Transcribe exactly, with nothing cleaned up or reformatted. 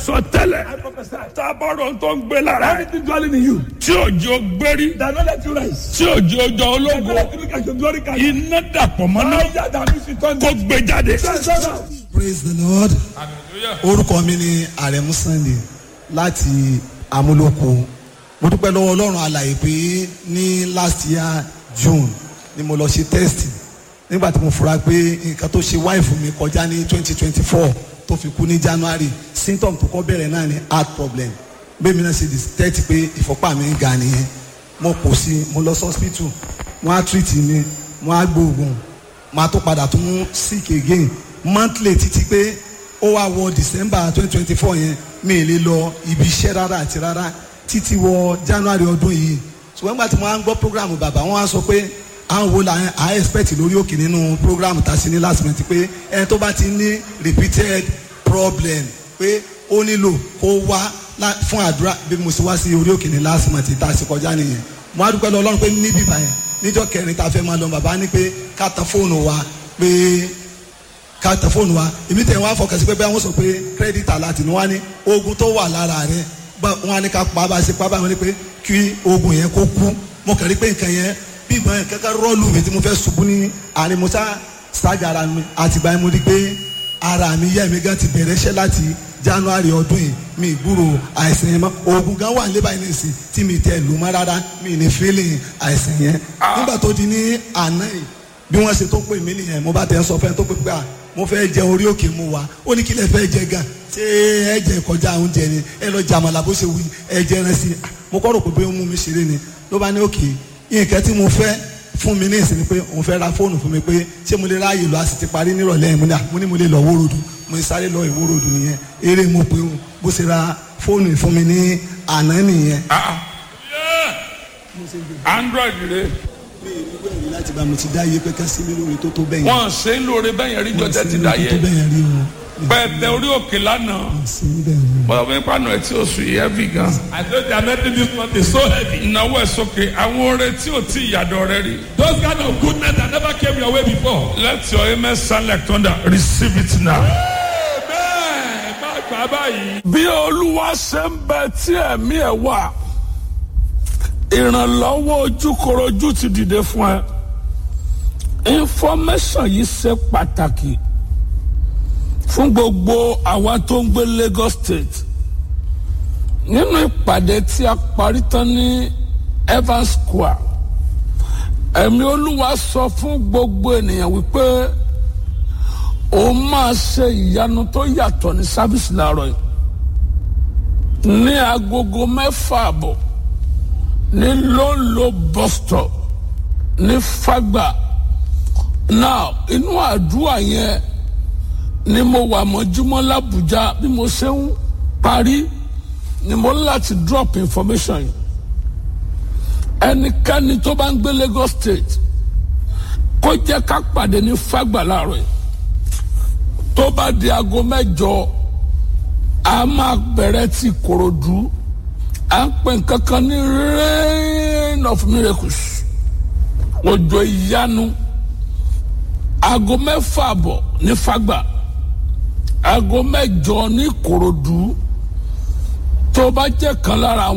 sọ tẹ́lẹ̀. I prophesy. Tábọ̀rọ̀ tó ń gbé lára ẹ̀. Everything dwelling in you. Tí òjò gbérí. That not let you rise. Tí òjò jọ That not ológo. let you look at your glory card. Iná dàpọ̀ mọ́ná. Fire that makes you thunder. Kó gbé jáde. Praise the Lord. Orúkọ mi ni Àrẹ̀mú Sunday láti Amúlòkó. Mo dúpẹ́ lọ́wọ́ Ọlọ́run alàyè pé ní last year June ni mo lọ ṣe test nígbà tí mo fura pé nǹkan tó ṣe wáìfù mi kọjá ní twenty twenty four tó fi kú ní January. Symptom tó kọ́ bẹ̀rẹ̀ náà ni heart problem. Bẹ́ẹ̀ mi náà ṣe detect pé ìfọ́pá mi ń ga nìyẹn. Mo kò sí, mo lọ sí hospital, wọ́n á treat mi, wọ́n á gbóògùn, máa tó padà tún sick again monthly títí pé ó wá wọ December twenty twenty four yẹn, mi ì lè lọ ibi iṣẹ́ rárá àti rárá títí wọ January ọdún yìí. Ṣùgbọ́n nígbà tí mo wá ń gbọ́ program bàbá, wọ́n á sọ pé àwọn wo la à expect lórí òkè nínú program tá a ṣe ní last month, pé ẹni tó bá ti ní repeated problem pé ó nílò kó wá lá- fún àdúrà. Bí mo ṣe wá sí orí òkè ní last month tá a ṣe kọjá nìyẹn. Mo á dúpẹ́ lọ Ọlọ́run pé níbí báyẹn, níjọ́ kẹrin tá a fẹ́ máa lọ, bàbá ní pé ká tan fóònù wa, pé ká tẹ fóònù wa. Èmi tẹ̀ wọ́n á fọkàn sí pé bẹ́ẹ̀ wọ́n sọ pé credit alert ni. Wọ́n á ní oògùn tó wà lára rẹ̀, wọ́n á ní ká pa bá a ṣe pa báyìí, wọ́n ní pé kí oògùn yẹn kó kú. Mo kàn rí pé nǹkan yẹn bí ìgbọ́n yẹn kankan rọ́ọ̀lù mi tí mo fẹ́ ṣubú ní àárín, mo sá ṣáàjà ara mi. Àtìgbà yẹn mo rí pé ara mi yẹ́ mi gan ti bẹ̀rẹ̀ iṣẹ́ láti January ọdún yìí, mi gbúrò àìsàn yẹn mọ́. Oògùn gan wà nílé báyìí nìsín tí mi tẹ lù mọ́ rárá, mi ní feeling àìsàn yẹn. Nígbà tó di ní àná yìí, bí wọ́n ṣe tó pè mí nìyẹn, mo bá tẹ̀ ń sọ fẹ́ tó pè pé à mo fẹ́ jẹ orí òkè mu wa. Ó ní kí lẹ fẹ́ jẹ gan, ṣé ẹ jẹ kọjá oúnjẹ ni? Ẹ lọ jàmàlà bó ṣe wù yín, ẹ jẹ ẹran sí i. Mo kọ́ rò pé bóyá ó mú mi ṣeré ni. Ló bá ní òkè, nǹkan tí mo fẹ́ fún mi ní ìsinmi pé òun fẹ́ ra fóònù fún mi, pé ṣé mo lè ráàyè lọ? A sì ti parí nírọ̀lẹ́ yẹn. Mo ní à mo ní mo lè lọ wórodù. Mo sáré lọ ìwórodù nìyẹn. Eré mo pé o, bó ṣe ra fóònù fún mi ní àná nìyẹn. Ah, yeah. Android rè. Mi ì ní wẹ̀rí láti bá mo ti dá iye pé ká sí mi lórí tó tó bẹ́yẹn. Wọ́n ṣe ń lóore bẹ́yẹn rí jọ tẹ́tí tó dáyé. bẹ́yẹn rí o. Pẹ̀tẹ́ orí òkè lánàá. Sí bẹ́ẹ̀ ni. Bọ́lá fún ìpanu ẹ̀ tí ó sùn yìí heavy gan. I know the anointing this month is so heavy. Ìnáwó ẹ̀ sókè, àwọn oore tí ò tí ìyàdọ̀ rẹ rí. Those kind of goodness that never came your way before. Let your amen sound like thunder. Receive it now. Amen. Má gbà báyìí. Bí Olúwa ṣe ń bẹ tí ẹ̀mí ẹ̀ wà, ìrànlọ́wọ́ ojúkorojú ti dìde fún ẹ. Information yìí ṣe pàtàkì fún gbogbo àwa tó ń gbé Lagos State. Nínú ìpàdé tí a parí tán ní Evans Square, ẹ̀mí Olúwa sọ fún gbogbo ènìyàn wípé òun máa ṣe ìyanu tó yàtọ̀ ní sábìsì láàárọ̀ yìí ní agogo mẹ́fà àbọ̀ ní Lóńlò bus stop ní Fágbà. Now, inú àdúrà yẹn ni mo wà mọ́júmọ́ l'Ábùjá. Bí mo ṣe ń parí ni mo ní láti drop information yìí. Ẹnikẹ́ni tó bá ń gbé Lagos State, kó jẹ́ ká pàdé ní Fágbà láàárọ̀ yìí. Tó bá di aago mẹ́jọ, a máa bẹ̀rẹ̀ ti Kòròdú. À ń pè nǹkan kan ní rain of miracles, òjò ìyanu. Aago mẹ́fà àbọ̀ ní Fágbà, aago mẹ́jọ ní Kòròdú. Tó bá jẹ́ kan lára àwọn.